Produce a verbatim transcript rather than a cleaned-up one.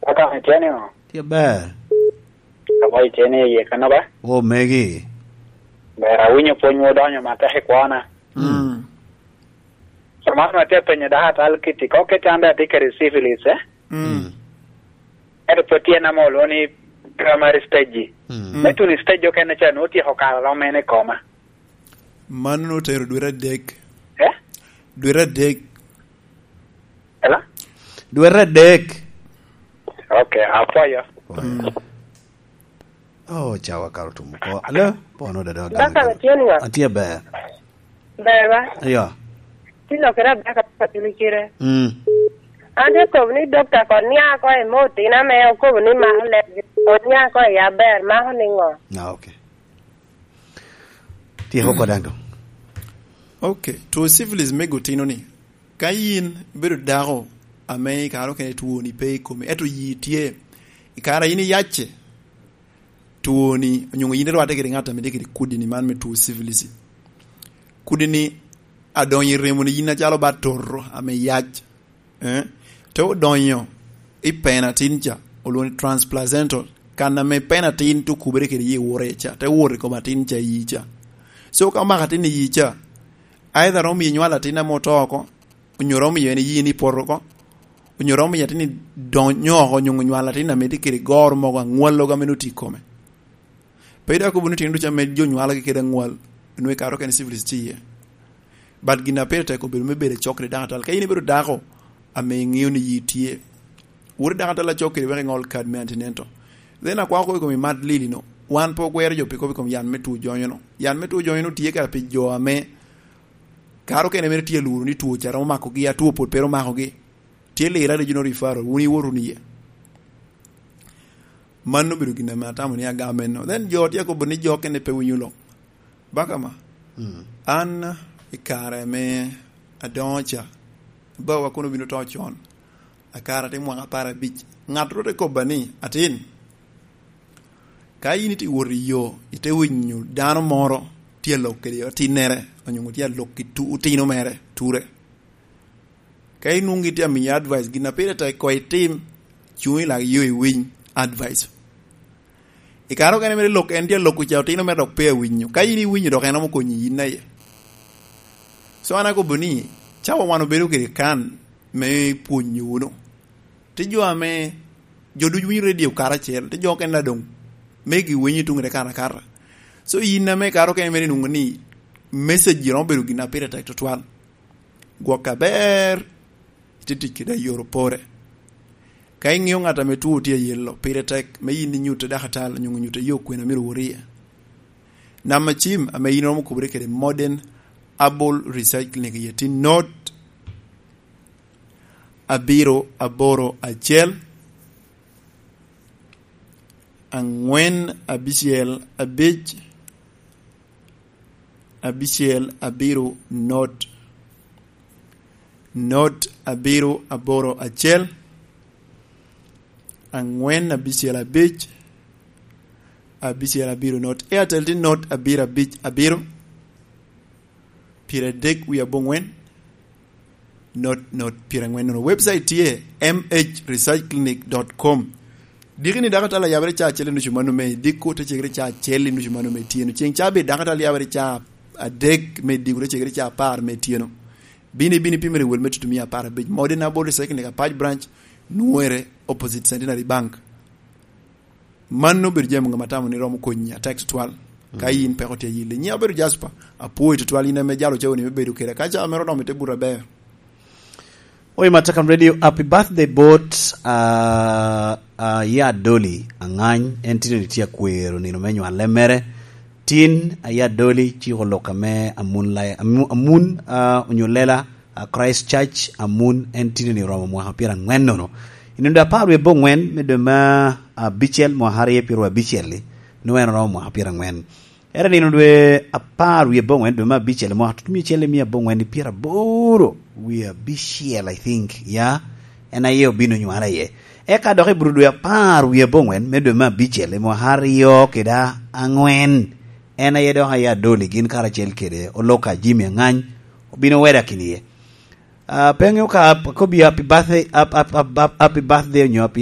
Kaka itye ni o? Tye ber. Kama itye ni iye kano ba? O megi. Ber, awinyo pwony odonyo matek i kwona. Mm. So man atye penyo dako atal kiti, ko kit an dong atye kede syphilis, eh? Mm. Ento pwod tye na mo olwoŋo ni primary stage. Mm. Me tuno i stage okene ca nwoŋo otyeko kare rom mene i koma. Mano otero dwete adek. Eh? Dwete adek. Ela? Dwete adek. Ok, apwoyo. Mm. Oh, cawa karo tum oko. Alo, pono da dog. Baka atye ni ŋa? Atye ber. Ber ba? Ayo. Ti lokere abaka pa tuli kire. Mm. An te kobo ni dokta kon nia ko i mo tina me okobo ni mako leb, kon nia ko i aber, mako ni ŋo? Ah, okay. Tyeko ko daŋ dong. Ok, two syphilis me gotino ni. Ka yin ibedo dako ame i kare okene twoni pe i komi, ento yi tye, i kare a yin iyacce, twoni, onyo yin irwatte kede ŋat ame tye kede kudi-ni man me two syphilis. Kudi-ni adonyo i remoni yin acalo ba toto ame yac, eh? Te odonyo i pena atin ca, olwoŋo ni transplacental, kan ame pena atin te okubere kede yi wore ca, te wot i kom atin ca i yi ca. So ka omako atin i yi ca, either romo yi nywalo atin ame oto oko, onyo romo miyo en yin ipoto oko, onyo romo miyo atin donyo oko, onyo nywalo atin ame tye kede goro mogo aŋwal logo ame noti i kome. Pe dok kobo ni tino ducu ame jo nywalogi kede aŋwal, nwe karo kene syphilis tye iye. But gin a pire tek obedo me bedo acok kede dako atal. Ka in ibedo dako ame iŋeo ni yi tye, wot i dako atal acok kede wek iŋol kad me antinento. Then akwako kobo i kom imat lili no. Wan pe ogwero jo pi kobo i kom yan me two jonyo no. Yan me two jonyo no tye kara pi jo ame karo kene mere tye luro ni two ca romo makogi, a two pwod pe ro makogi. Tye lira regional referral, wun iwot wunu iye. Mano obedo gin ame atamo ni agamo enno. Then jo tye akobo ni jo kene pe winyo lok. Baka ma, mm, an i kare ame adongo ca, bawa kono obino to con. Akara te mwaka apar abic. Ŋat ro te kobba ni, "Atin, ka yin ite wot i yo, ite winyo dano moro tye alok kede atinnere, onyo tye alok ki tu-, otino mere, ture. Ka inwoŋo gitye amiyo advice, gin a pire tek koŋ itim, cuŋ i lak yo iwiny advice." I kare okene mere lok, en tye aloko ca, otino mere dok pe awinyo. Ka in iwinyo, dok en romo konyi yin aye. So an akobo ni, cawa wan obedo kede kan me pwonyo wunu. Tye jo ame, jo ducu winyo radio karacel, tye jo okene a doŋ megi winyo i tuŋere kan akata. So yin ame i kare okene mere inwoŋo ni message romo bedo gin a pire tek tutwal. Gwok aber, ite tic kede ayoro pore. Ka iŋeo ŋat ame two tye ayelo, pire tek me yin inyutte dakatal, onyo nyutte yo kwena myero wot iye. Namba cim ame yin iromo kubere kede Modern Herbal Research Clinic iye tye not abiro aboro acel, angwen abicel abic, abicel abiro not, not abiro aboro acel, angwen abicel abic, abicel abiro not. Airtel tye not abiro abic abiro, pyeradek wie aboŋwen, not, not, pyerangwen nono. Website tye m h research clinic dot com. Diki ni dako tala yabere ca acel i nucu mano me, diko te cegere ca acel i nucu mano me tyeno. Ceng ca bed dako tala yabere ca adek me diko te cegere ca apar me tyeno. Bini, bini pimere wel me tutumia apar abic. Modern Herbal Recycling Apac Branch, nwere opposite Centenary Bank. Mano obedo jami ŋama tamo ni romo konyi atek tutwal. Ka, mm, yin peko tye ayilli. Nyiŋa obedo Jasper, apwoyo tutwal in ame jalo cawa ni me bedo keda. Ka cawa mere oromo ite buto aber. Oi, Matakam Radio, happy birthday bot, ah, ah, ya Doli Angany, en tye ni tye akwero nino me nywale mere. Tin, ah, ya Doli, ciko lok ame amun lai-, amu-, amun, ah, onyo lela, a Christ Church, amun en tye ni oromo mwaka pyerangwen nono. I nino apar wie abongwen me dwe me abicel mwaka aryo pyeraryo abicel-li, nwoŋo en oromo mwaka pyerangwen. Ere nino dwe apar wie abongwen dwe me abicel mwaka tutumia acel i mia abongwen i pyeraboro wie abicel, I think, ya, en aye obino nywala iye. Eka dok i bur dwe apar wie abongwen me dwe me abicel i mwaka aryo kede angwen, en aye dok aye Adoli gin karacel kede Oloka Jimmy Angany obino weda kini iye. Ah, pe aŋeo ka ap-, akobi happy birthday, ap-, ap-, ap-, ap-, happy birthday onyo happy